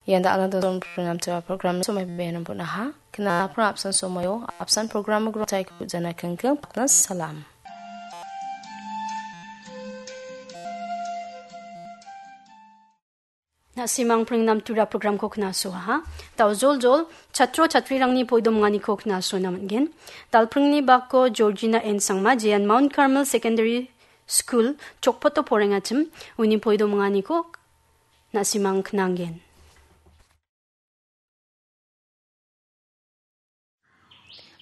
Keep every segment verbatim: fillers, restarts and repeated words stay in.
Ian da·alna dodon program tua program somai bebe nampun aha. Kena program apsan somayo, apsan program gro tai kujana kengkeng pakna salam. Na·simang pringnam tura program ko kena soha. Daujol jol, chatro chatrirangni poidomanganiko kena sona man·gen. Dalpringni bako Georgina N Sangma, jean Mount Carmel Secondary School, Chokpoto porengachim, uni poidomanganiko na·simang knanggen.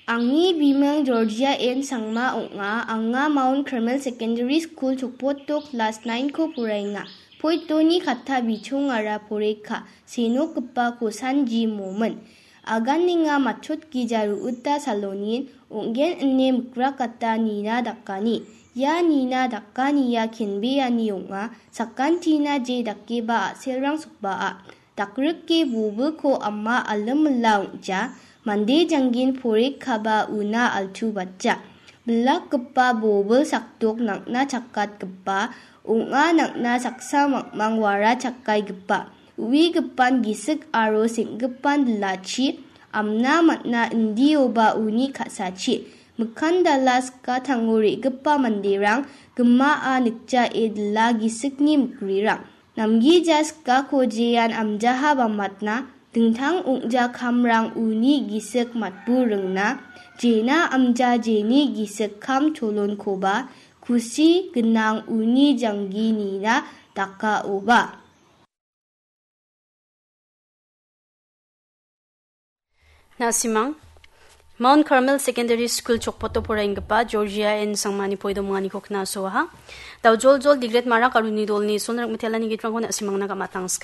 Angni bimang Georgia N Sangma ong·a, anga Mount Carmel Secondary School Chokpoto class nine ko poraenga. Poitoni katta bichongara poreka, senokgipa kosanji momin. Aganenga matchotgija ruuta salonin ong·gen ine mikrakata nina dakani. Ia nina dakania kenbeani ong·a, sakantina je dakeba a·selrang sokbaa. Dakrike bobilko ama alimila ong·ja, mande jangin porikaba una altubatja. Bilakgipa bobil sakdok nang·na chakatgipa ong·a, nang·na saksa mangmang wara chakaigipa. Uigipan gisik aro seng·gipan bilachi amna man·a, indioba uni ka·sachi. Mikan dala skatango re·gipa manderang gimaa nikjae dila gisikni mikrirang. Namgija skako jean amjaha bamatna, dingtang ong·ja kamrang uni gisik matbu ringna, jena amja jeni gisik kam cholonkoba kusi gnang uni janggi nina dakaoba. Na·simang, Mount Carmel Secondary School Chokpoto poraienggipa Georgia N Sangmani poidomanganiko knasoaha. Daujol jol digret marak aro uni dolni sonrak mitelani gitrangko na·simangna gamatangska.